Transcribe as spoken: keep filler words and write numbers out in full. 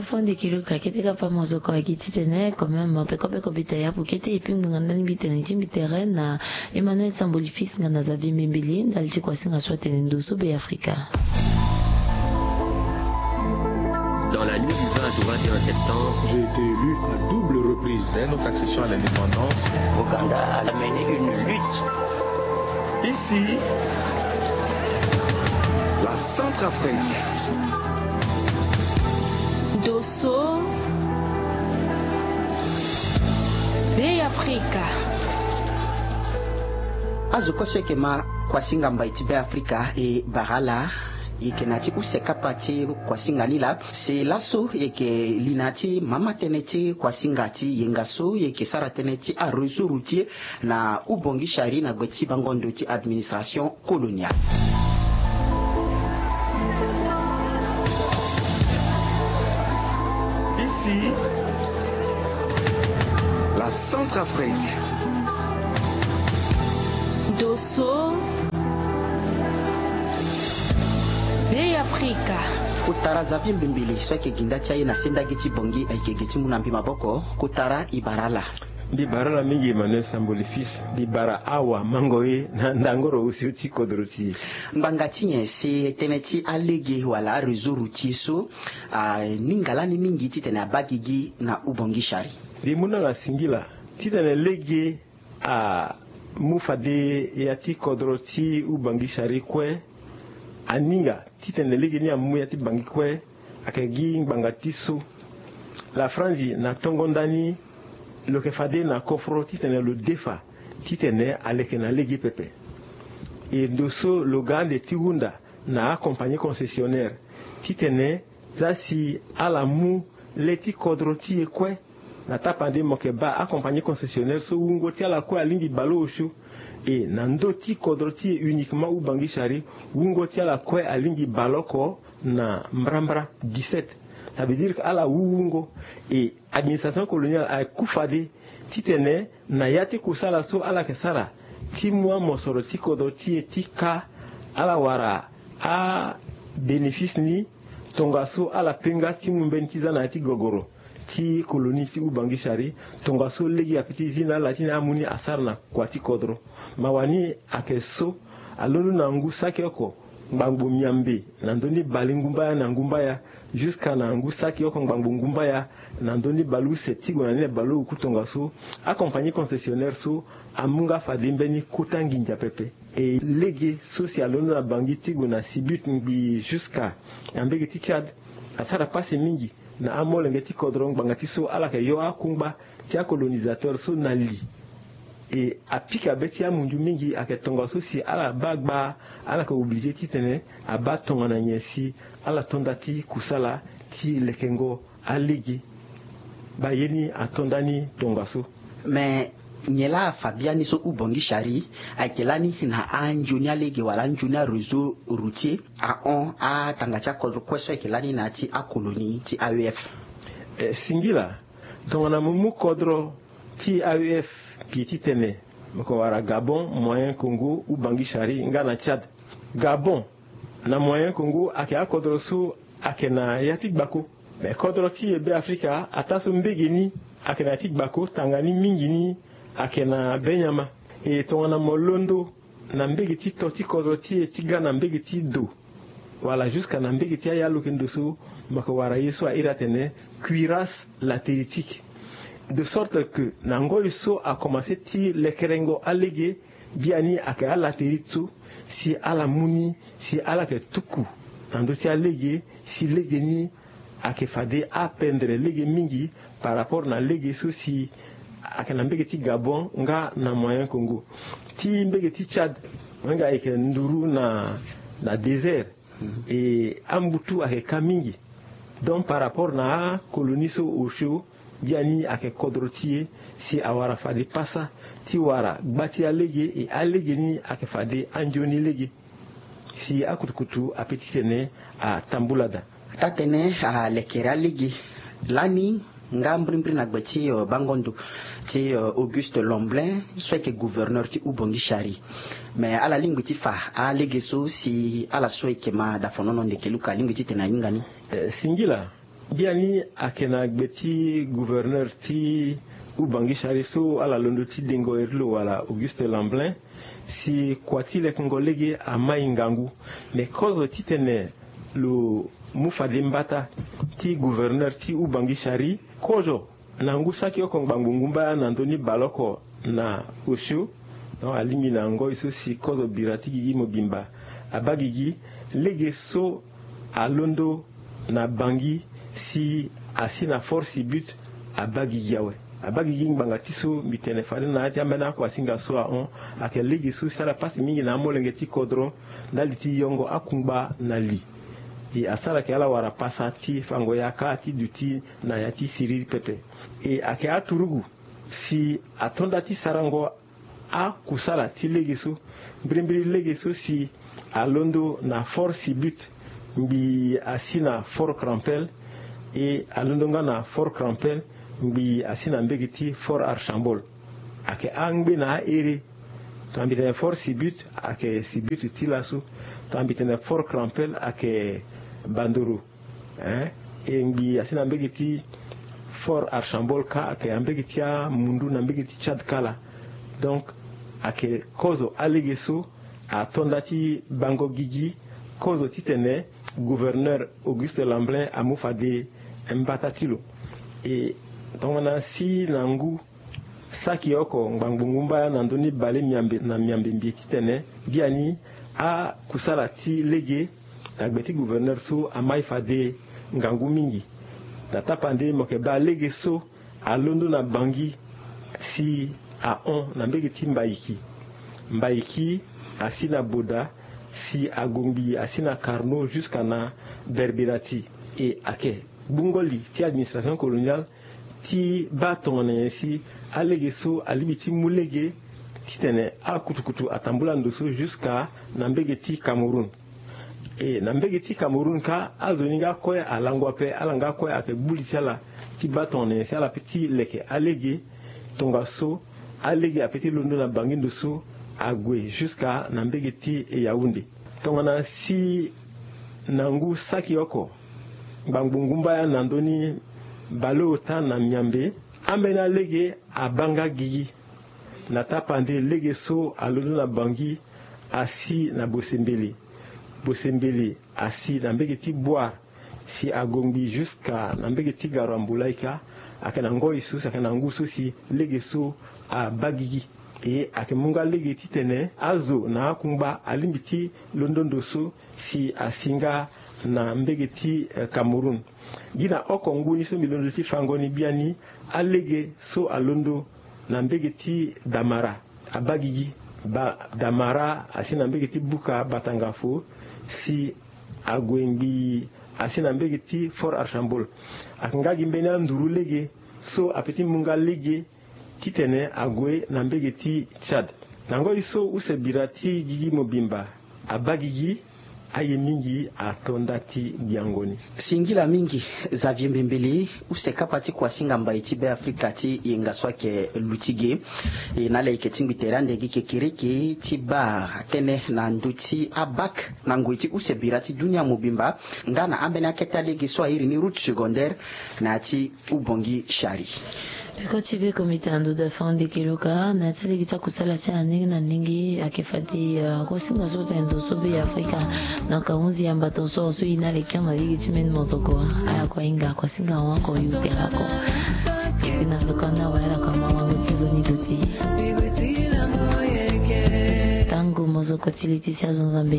Fo ndeke luka kete ka pa mozoko agi titene quand même peko peko bita yapu kete epi ngbanga ndani mbi tene ti mbi tere na Emmanuel Samboli fils nga na Xavier Mbembele ndali ti kuasinga so atene ndo so Be Afrika. Dans la nuit du vingt au vingt et un septembre, j'ai été élu à double reprise. Dès notre accession à l'indépendance, Ouganda a mené une lutte. Ici, la Centrafrique. Dosso. Be Afrika. Azo kue so eke ma kuasinga mbai ti Be Afrika e bara ala. Eke na ti use kapa ti kuasinga ni laa. Se laso eke li na ti mama tënë ti kuasinga ti yenga so eke sara tënë ti aréseau routier na Ubangui Chari na gbe ti bango ndo ti administration coloniale. Ici, la Centrafrique. Dosso. Be Afrika. Kotara Xavier Mbembele so ayeke gi nda ti aye na sendagi ti Bangui ayeke gi ti mu na mbi maboko. Kotara e bara ala. Mbi bara ala mingi Emmanuel Samboli fils. Mbi bara awamango ye na ndangoro osio ti kodro ti e. Ngbanga ti nyen si tënë ti alege wala aréseau routier so aninga lani mingi titene abaa gigi na Ubangui Chari? Mbi mu na ala singila titene lege amu fade ya ti kodro ti Ubangui Chari kue. Aninga titene lege ni amu ya ti Bangui kue. Ayeke gi ngbanga ti so. La franzi na tongo ndani lo yeke fade na kofro titene lo defa titene aleke na lege pepe. E ndo so lo ga ande ti hunda na acompagnie concessionnaire titene za si ala mu le ti kodro ti e kue. Na tapande mo yeke baa acompagnie concessionnaire so wungo ti ala kue alingbi baleosio. E na ndö ti kodro ti e uniquement Ubangui Chari wungo ti ala kue alingbi baleoko na mbrambra dix-sept. Ça veut dire que ala wu wungo. E administration coloniale aye ku fade titene na ya ti kusala so ala yeke sara ti mu amosoro ti kodro ti e ti ka ala wara abénéfice ni tongaso ala pe nga ti mu mbeni ti za na ya ti gogoro ti colonie ti Ubangui Chari. Tongaso lege ape ti zi na ala ti na amu ni asara na kua ti kodro. Mawa ni ayeke so alondo na ngu saki oko ngbangbo miambe na ndö ni bale ngumbaya na ngumbaya jusqu'à na ngu saki oko ngbangbo ngumbaya na ndö ni baleuse ti gue na ni na baleoku tongaso acompagnie concessionnaire so amu nga fade mbeni kota nginza pepe. E lege so si alondo na Bangui ti gue na Sibut ngbii jusqu'à na mbege ti Tchad asara pasi mingi na amolenge ti kodro ngbanga ti so ala yeke yo akungba ti acolonisateur so na li. E apika be ti amunzu mingi ayeke tongaso si ala baa gbaa ala yeke oblige titene abaa tongana nyen si ala to nda ti kusala ti lekengo alege. Baa ye ni ato nda ni tongaso. Me nyen laa afa biani so Ubangui Chari ayeke lani na anzoni alege wala anzoni aréseau routier ahon atanga ti akodro kue so ayeke lani na ya ti acolonie ti AEF? E singila tongana mo mu kodro ti AEF gi titene mo yeke wara Gabon, Moyen Congo, Ubangui Chari nga na Tchad. Gabon na Moyen Congo ayeke akodro so ayeke na ya ti gbako. Me kodro ti e Be Afrika ataa so mbege ni ayeke na ya ti gbako tanga ni mingi ni ayeke na be nyama. E tongana mo londo na mbege ti to ti kodro ti e ti ga na mbege ti do wala jusqu'à na mbege ti ayalokendo so mo yeke wara ye so a iri atene cuirasse latéritique. De sorte que na ngoi so akomanse ti lekerengo alege biani ayeke alatérite so si ala mu ni si ala yeke tuku na ndö ti alege si lege ni ayeke fade apendre lege mingi par rapport na lege so si ayeke na mbege ti Gabon nga na Moyen Congo. Ti mbege ti Tchad nga ayeke nduru na na désert. E ambutu ayeke ka mingi. Donc par rapport na acolonie so osio biani ayeke kodro ti e si awara fade pasa ti wara gba ti alege e alege ni ayeke fade anzoni lege si akutukutu ape titene atambula daa. Taa-tënë alekere alege lani nga mbirimbiri na gbe ti bango ndo ti Auguste Lemblin so ayeke gouverneur ti Ubangui Chari. Me ala lingbi ti fa alege so si ala so ayeke ma dafonono ndeke luka alingbi titene ahinga ni. Singila Biani ayeke na gbe ti gouverneur ti Oubangui Chari so ala londo ti dengo iri lo wala Auguste Lamblin, si kua ti lekengo lege amai ngangu. Me kozo titene lo mu fade mbata ti gouverneur ti Oubangui Chari, kozo na ngu saki oko ngbangbo ngumba na ndö ni baleoko na osio. Donc alingbi na ngoi so si kozo bira ti gigi mobimba abaa gigi, lege so alondo na Bangui si asi na Fort Sibut abaa gigi awe. Abaa gigi ngbanga ti so mbi tene fade na ya ti ambeni akuasinga so ahon, ayeke lege so si ala pasi mingi na amolenge ti kodro ndali ti yongo akungba na li. E asara yeke ala wara pasa ti fango yaka ti duti na ya ti siriri pepe. E ayeke aturugu si ato nda ti sarango akusala ti lege so. Mbirimbiri lege so si alondo na Fort Sibut ngbii asi na Fort Crampel, e alondo nga na Fort Crampel ngbii asi na mbege ti Fort Archambault. Ayeke angbe na ahere. Tongana mbi tene Fort Sibut ayeke Sibut ti laso. Tongana mbi tene Fort Crampel ayeke Bandoro. Hein? E ngbii asi na mbege ti Fort Archambault kâ ayeke na mbege ti amundu na mbege ti Tchad kala. Donc ayeke kozo alege so ato nda ti bango gigi, kozo titene gouverneur Auguste Lamblin amu fade mbata ti lo. E tongana si na ngu saki oko ngbangbo ngumba na ndö ni bale miambe na miambe mbi titene biani akusala ti lege na gbe ti gouverneur so amai fade ngangu mingi. Na tapande mo yeke baa lege so alondo na Bangui si ahon na mbege ti Mbaïki. Mbaïki asi na Boda si ague ngbii asi na Carnot jusqu'à na Berbirati. E ayeke gbungo li ti administration coloniale ti baa tongana nyen si alege so alingbi ti mu lege titene akutukutu atambula ndo so jusqu'à na mbege ti Cameroun. E na mbege ti Cameroun kâ azo ni nga kue alango ape, ala nga kue ayeke gbu li ti ala ti baa tongana nyen si ala pe ti leke alege. Tongaso alege ape ti londo na Bangui ndo so ague jusqu'à na mbege ti Yaoundé. Tongana si na ngu saki oko ngbangbo ngumba ya na ndö ni baleota na miambe, ambeni alege abaa nga gigi. Na tapande lege so alondo na Bangui asi na Bosembele. Bosembele asi na mbege ti Bouar si ague ngbii jusqu'à na mbege ti Garoua Mboulaïka. Ayeke na ngoi so si ayeke na ngu so si lege so abaa gigi. E ayeke mu nga lege titene azo na akungba alingbi ti londo ndo so si asi nga na mbege ti, eh, Cameroun. Gi na oko ngu ni so mbi londo ti fango ni biani, alege so alondo na mbege ti Damara abaa gigi. Ba Damara asi na mbege ti Buka Batangafo si ague ngbii asi na mbege ti Fort Archambault. Ayeke nga gi mbeni anduru lege so ape ti mu nga lege titene ague na mbege ti Tchad. Na ngoi so use bira ti gigi mobimba abaa gigi, aye mingi ato nda ti gbiango ni. Singila mingi Xavier Mbembele, use kapa ti kuasinga mbai ti Beafrika ti yenga so ayeke luti ge. E na ala yeke tingbi tere ande gi kekereke ti baa tënë na ndö ti abac na ngoi ti use bira ti dunia mobimba nga na ambeni akete alege so airi ni route secondaire na ya ti Oubangui Chari. Peko ti beko mbi tene ndo da fande keloka na ya ti alege ti akusala ti ala ndenge na ndenge. Ayeke fade, ah, kuasinga so tene ndo so Beafrika. Donc ahunzi ya mbato so so e na le kian na lege ti mbeni mozoko. Ala kue ahinga kuasinga ahon oko e ute ala oko. Epi na peko na wala ala kue ama wango ti nzoni duti. Tango mozoko ti le ti si azo Nzambe.